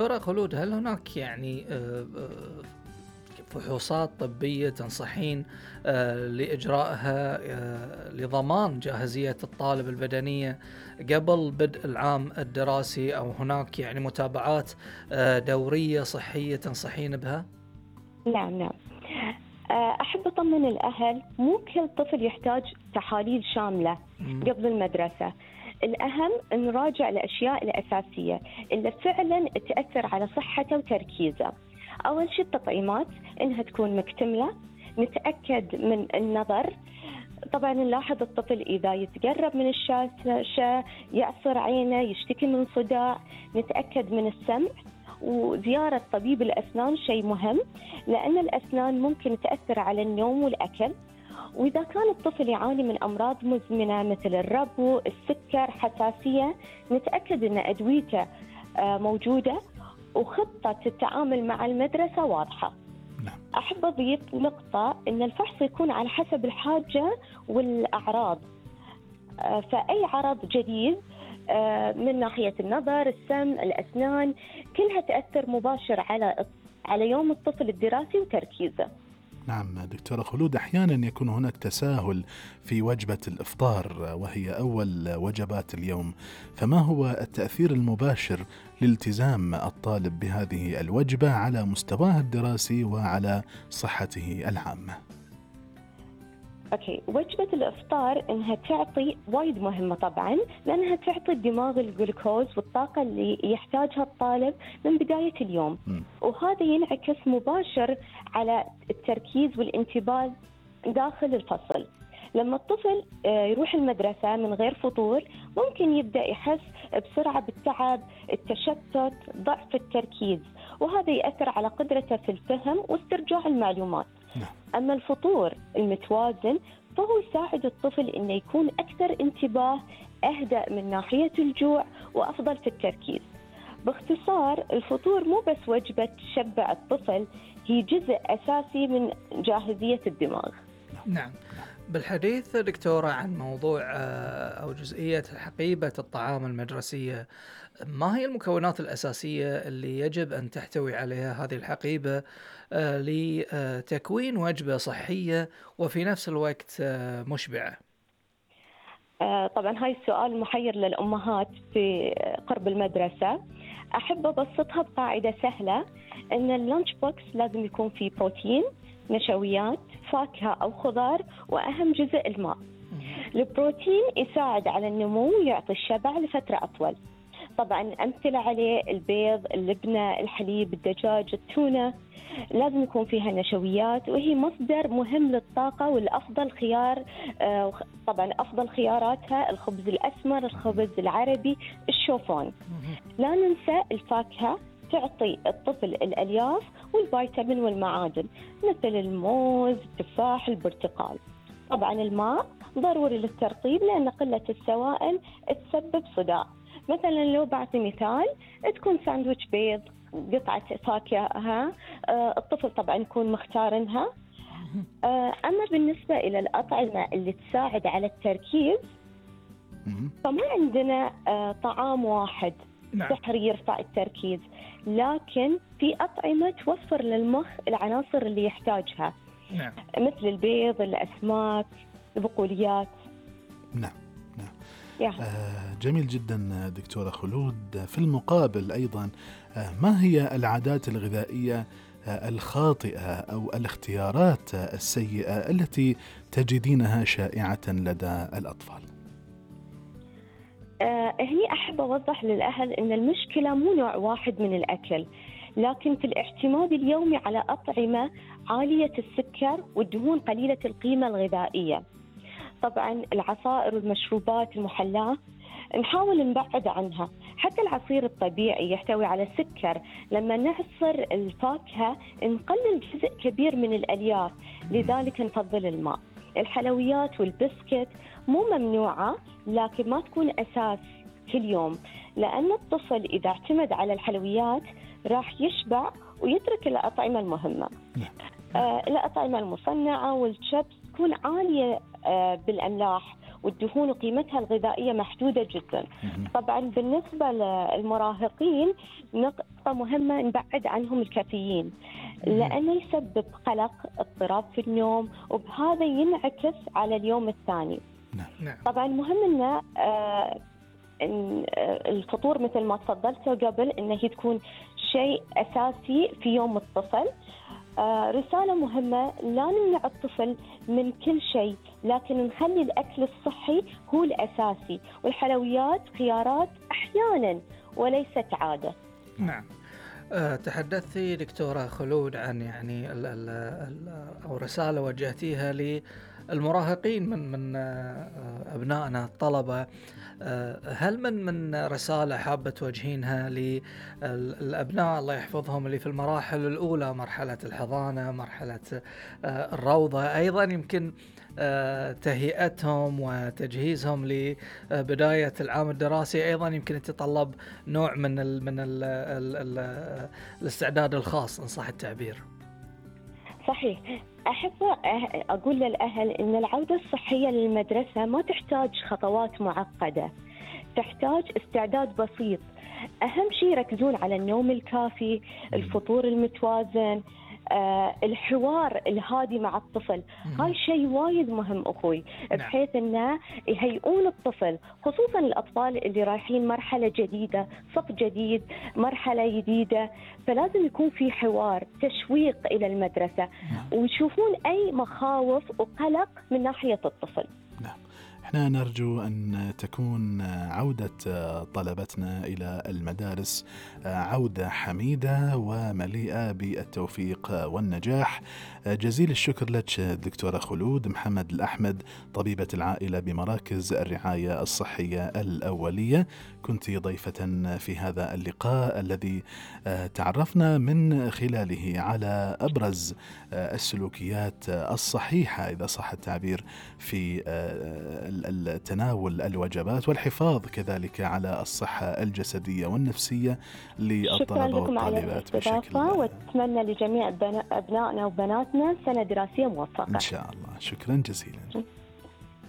دكتورة خلود، هل هناك فحوصات طبية تنصحين لإجرائها لضمان جاهزية الطالب البدنية قبل بدء العام الدراسي، أو هناك متابعات دورية صحية تنصحين بها؟ نعم نعم. أحب أطمن الأهل، مو كل طفل يحتاج تحاليل شاملة قبل المدرسة. الأهم أن نراجع الأشياء الأساسية اللي فعلا تأثر على صحته وتركيزه. أول شيء التطعيمات إنها تكون مكتملة، نتأكد من النظر. طبعا نلاحظ الطفل إذا يتقرب من الشاشة يعصر عينه، يشتكي من صداع، نتأكد من السمع. وزيارة طبيب الأسنان شيء مهم، لأن الأسنان ممكن تأثر على النوم والأكل. وإذا كان الطفل يعاني من أمراض مزمنة مثل الربو، السكر، حساسية، نتأكد أن أدويته موجودة وخطة التعامل مع المدرسة واضحة. أحب أضيف نقطة أن الفحص يكون على حسب الحاجة والأعراض. فأي عرض جديد من ناحية النظر، السمع، الأسنان، كلها تأثر مباشر على يوم الطفل الدراسي وتركيزه. نعم دكتورة خلود، أحيانا يكون هناك تساهل في وجبة الإفطار وهي أول وجبات اليوم، فما هو التأثير المباشر لالتزام الطالب بهذه الوجبة على مستواه الدراسي وعلى صحته العامة؟ أوكي، وجبة الإفطار إنها تعطي وايد مهمة طبعاً، لأنها تعطي الدماغ الجلوكوز والطاقة اللي يحتاجها الطالب من بداية اليوم. وهذا ينعكس مباشر على التركيز والانتباه داخل الفصل. لما الطفل يروح المدرسة من غير فطور ممكن يبدأ يحس بسرعة بالتعب، التشتت، ضعف التركيز، وهذا يأثر على قدرته في الفهم واسترجاع المعلومات. أما الفطور المتوازن فهو يساعد الطفل إنه يكون أكثر انتباه، أهدأ من ناحية الجوع، وأفضل في التركيز. باختصار، الفطور مو بس وجبة تشبع الطفل، هي جزء أساسي من جاهزية الدماغ. نعم. بالحديث دكتورة عن موضوع أو جزئية حقيبة الطعام المدرسية، ما هي المكونات الأساسية اللي يجب أن تحتوي عليها هذه الحقيبة لتكوين وجبة صحية وفي نفس الوقت مشبعة؟ طبعا هاي السؤال محير للأمهات في قرب المدرسة. أحب أبسطها بقاعدة سهلة، أن اللانش بوكس لازم يكون فيه بروتين، نشويات، فاكهة أو خضار، وأهم جزء الماء. البروتين يساعد على النمو ويعطي الشبع لفترة أطول. طبعا أمثلة عليه البيض، اللبنة، الحليب، الدجاج، التونة. لازم يكون فيها نشويات، وهي مصدر مهم للطاقة، والأفضل خيار طبعا أفضل خياراتها الخبز الأسمر، الخبز العربي، الشوفان. لا ننسى الفاكهة، تعطي الطفل الألياف والفيتامين والمعادن مثل الموز، التفاح، البرتقال. طبعا الماء ضروري للترطيب، لأن قلة السوائل تسبب صداع. مثلا لو بعطي مثال، تكون ساندويتش بيض، قطعة فاكهة، الطفل طبعا يكون مختارنها. أما بالنسبة إلى الأطعمة اللي تساعد على التركيز، فما عندنا طعام واحد سحري يرفع التركيز، لكن في أطعمة توفر للمخ العناصر اللي يحتاجها، مثل البيض، الأسماك، البقوليات. نعم. جميل جدا دكتورة خلود. في المقابل أيضا، ما هي العادات الغذائية الخاطئة أو الاختيارات السيئة التي تجدينها شائعة لدى الأطفال؟ هني أحب أوضح للأهل أن المشكلة مو نوع واحد من الأكل، لكن في الاعتماد اليومي على أطعمة عالية السكر والدهون قليلة القيمة الغذائية. طبعا العصائر والمشروبات المحلاة نحاول نبعد عنها. حتى العصير الطبيعي يحتوي على سكر. لما نعصر الفاكهة نقلل جزء كبير من الألياف، لذلك نفضل الماء. الحلويات والبسكت مو ممنوعة، لكن ما تكون أساس كل يوم، لأن الطفل إذا اعتمد على الحلويات راح يشبع ويترك الأطعمة المهمة. الأطعمة المصنعة والشيبس تكون عالية بالأملاح والدهون وقيمتها الغذائية محدودة جدا. طبعا بالنسبة للمراهقين نقطة مهمة نبعد عنهم الكافيين، لأنه يسبب قلق، اضطراب في النوم، وبهذا ينعكس على اليوم الثاني. طبعا مهم إن الفطور مثل ما تفضلتوا قبل إنه هي تكون شيء أساسي في يوم الطفل. رسالة مهمة، لا نمنع الطفل من كل شيء، لكن نخلي الأكل الصحي هو الأساسي، والحلويات خيارات أحيانا وليست عادة. نعم. تحدثتي دكتورة خلود عن يعني أو رسالة وجهتيها للمراهقين من أبنائنا الطلبة. هل من رسالة حابة توجهينها للأبناء الله يحفظهم اللي في المراحل الأولى، مرحلة الحضانة، مرحلة الروضة، أيضا يمكن تهيئتهم وتجهيزهم لبداية العام الدراسي أيضا يمكن يتطلب نوع من الاستعداد الخاص إن صح التعبير؟ صحيح. أحب أقول للأهل إن العودة الصحية للمدرسة ما تحتاج خطوات معقدة، تحتاج استعداد بسيط. أهم شيء يركزون على النوم الكافي، الفطور المتوازن، الحوار الهادي مع الطفل. هاي شيء وايد مهم أخوي، بحيث أنه يهيئون الطفل، خصوصا الأطفال اللي رايحين مرحلة جديدة، صف جديد، مرحلة جديدة، فلازم يكون في حوار، تشويق إلى المدرسة، ويشوفون أي مخاوف وقلق من ناحية الطفل. احنا نرجو أن تكون عودة طلبتنا إلى المدارس عودة حميدة ومليئة بالتوفيق والنجاح. جزيل الشكر لك دكتورة خلود محمد الأحمد، طبيبة العائلة بمراكز الرعاية الصحية الأولية. كنت ضيفة في هذا اللقاء الذي تعرفنا من خلاله على أبرز السلوكيات الصحيحة إذا صح التعبير في تناول الوجبات والحفاظ كذلك على الصحة الجسدية والنفسية للطلبة والطالبات. بشكل واتمنى لجميع أبنائنا وبناتنا سنة دراسية موفقة إن شاء الله. شكرا جزيلا.